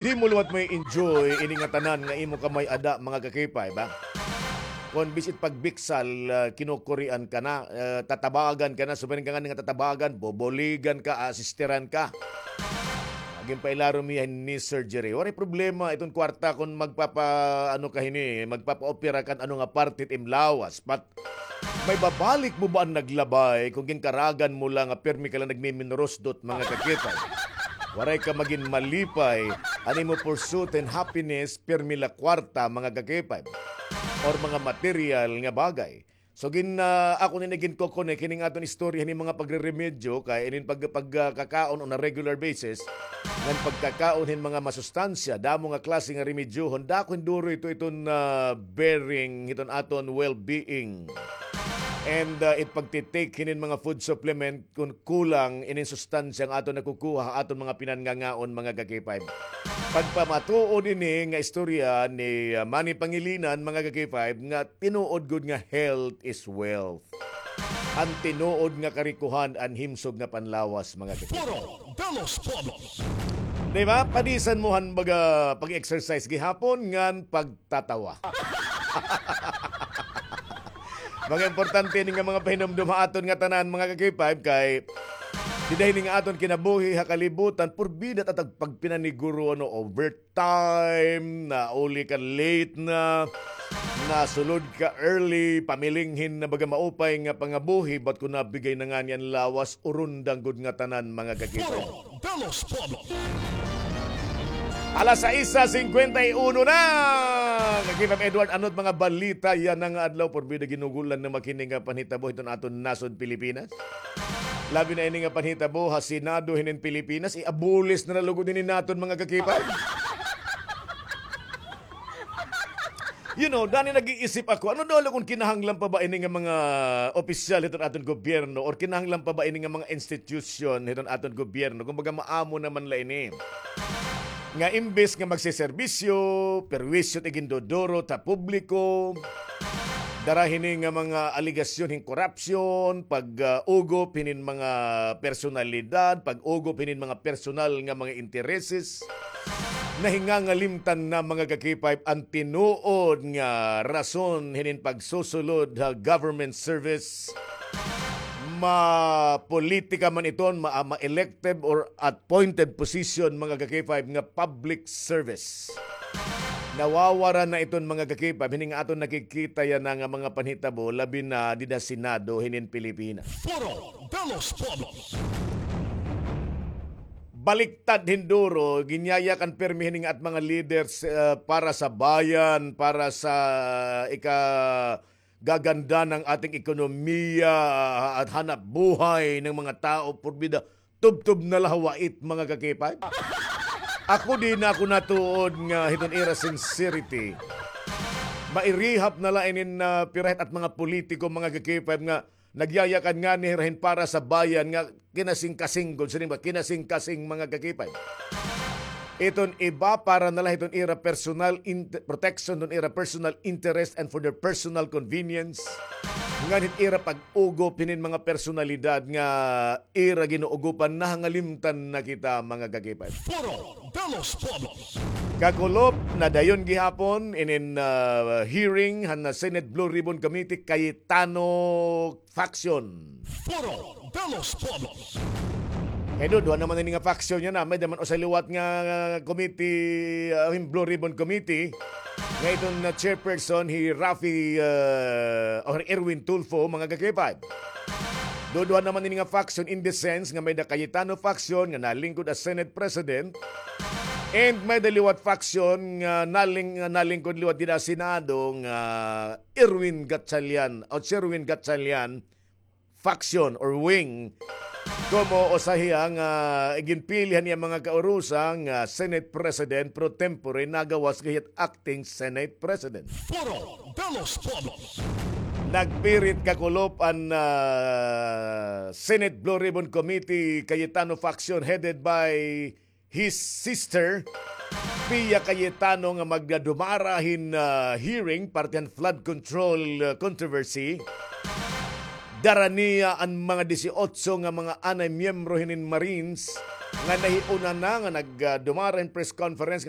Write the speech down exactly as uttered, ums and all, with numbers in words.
Di mo liwat may enjoy ini nga tanan nga imo ka may-ada, mga ka-K five, ha? Kon bisan pagbiksal, ah, kinukurian ka na, ah, tatabagan ka na, subayin ka ngani nga tatabagan, bobuligan ka, asistiran ka. Ginpailarom hiya ni surgery. Waray problema iton kwarta kon magpapa-, ano ka hini, magpapa-opera kan ano nga parte it im lawas. But may babalik mo ba an naglabay kon ginkaragan mo la nga pirmi ka la nagmiminurusdot, mga ka-K five? Waray ka magin malipay, an imo pursuit hin happiness, pirmi la kwarta, mga ka-K five, or mga material nga bagay. So, gin-, ah, ako ini ginkokonek hining aton istorya hini mga pagreremedyo kay inin pag-, pag-, ah, kakaon on a regular basis, ngan pagkakaon hin mga masustansya, damo nga klase nga remedyohon, dako hin duro ito iton, ah, bearing hiton aton well-being. And, ah, it pagtitake hinin mga food supplement, kon kulang inin sustansya nga aton nakukuha ha aton mga pinanngangaon, mga ka-K five. Pagpamatuod ini nga istorya ni, ah, Manny Pangilinan, mga ka-K five, nga tinuod gud nga health is wealth. An tinuod nga karikohan an himsog nga panlawas, mga ka-K five. Foro de los Pueblos. Di ba? Padisan mo han baga pag-exercise gihapon ngan pagtatawa. Mga importante ini nga mga pahinumdom ha aton nga tanan, mga ka-K five, kay dida hini nga aton kinabuhi ha kalibutan, purbida ta tag pagpinaniguro, ano, overtime, nauli ka late na, nasulod ka early, pamilinghin na baga maupay nga pangabuhi, but kon nabigay na ngani an lawas, urundang gud nga tanan, mga ka-K five. Foro de los Pueblos. Alas sais singkwenta y uno na. Ka-K five Edward, ano it mga balita yana nga adlaw? Purbida ginugulan na makini nga panhitabo hiton aton nasod Pilipinas. Labi na ini nga panhitabo ha Senado hinin Pilipinas, i-abolish na la lugod ini naton, mga ka-K five. You know, dani nag-iisip ako, ano daw la kon kinahanglan pa ba ini nga mga opisyal hiton aton gobyerno or kinahanglan pa ba ini nga mga institusyon hiton aton gobyerno? Kumbaga, maamo naman la ini. Nga imbes nga magseserbisyo, perwisyo it iginduduro ha publiko, dara hini nga mga alegasyon hin korapsyon, pag, ah, ugop hinin mga personalidad, pag-ugop hinin mga personal nga mga intereses, nahingangalimtan na, mga ka-K five, an tinuod nga rason hinin pagsusulod ha government service. Mapolitika man iton, ma-, ma-elective or appointed position, mga ka-K five, nga public service. Nawawara na iton, mga ka-K five, hini nga aton nakikita yana nga mga panhitabo, labi na dida Senado hinin Pilipinas. Foro de los Pueblos. Baliktad hin duro, ginyayakan pirmi hini nga at mga leaders, ah, para sa bayan, para sa ikagaganda ng ating ekonomiya, ah, at hanapbuhay ng mga tao, purbida, tubtob na la ha wait, mga ka-K five. Ako, di na ako natuod nga hiton ira sincerity. Mairihap na la inin, ah, pira hit at mga politiko, mga ka-K five, nga nagyayakan ngani hira hin para sa bayan nga kinasingkasing gud, siring ba, kinasingkasing, mga ka-K five. Iton iba para na la hiton ira personal int-, protection, hiton ira personal interest and for their personal convenience. Ngan hit ira pag-ugop hinin mga personalidad nga ira ginuugopan, nahangalimtan na kita, mga ka-K five. Foro de los Pueblos. Kakulop na dayon gihapon inin, ah, hearing han Senate Blue Ribbon Committee, Cayetano faction. Foro de los Pueblos. Kay duduha naman ini nga faction yana, may-ada man usa liwat nga committee, ah, hin Blue Ribbon Committee, nga iton, ah, chairperson, hi Raffy, ah, or Erwin Tulfo, mga ka-K five. Duduha naman ini nga faction in the sense nga may-ada Cayetano faction nga nalingkod as Senate President, and may-ada liwat faction nga naling-, nga nalingkod liwat dida Senado nga Erwin Gatchalian o Sherwin Gatchalian faction or wing. Komo usa hiya nga iginpili han iya mga kaurusa nga Senate President pro tempore, nagawas gihit acting Senate President. Foro de los Pueblos. Nagpirit kakulop an, ah, Senate Blue Ribbon Committee, Cayetano faction headed by his sister, Pia Cayetano, nga magdadumara hin, ah, hearing parte han flood control, ah, controversy. Dara niya an mga disiotso nga mga anay miyembro hinin Marines nga nahiuna na nga nag, ah, dumara hin press conference nga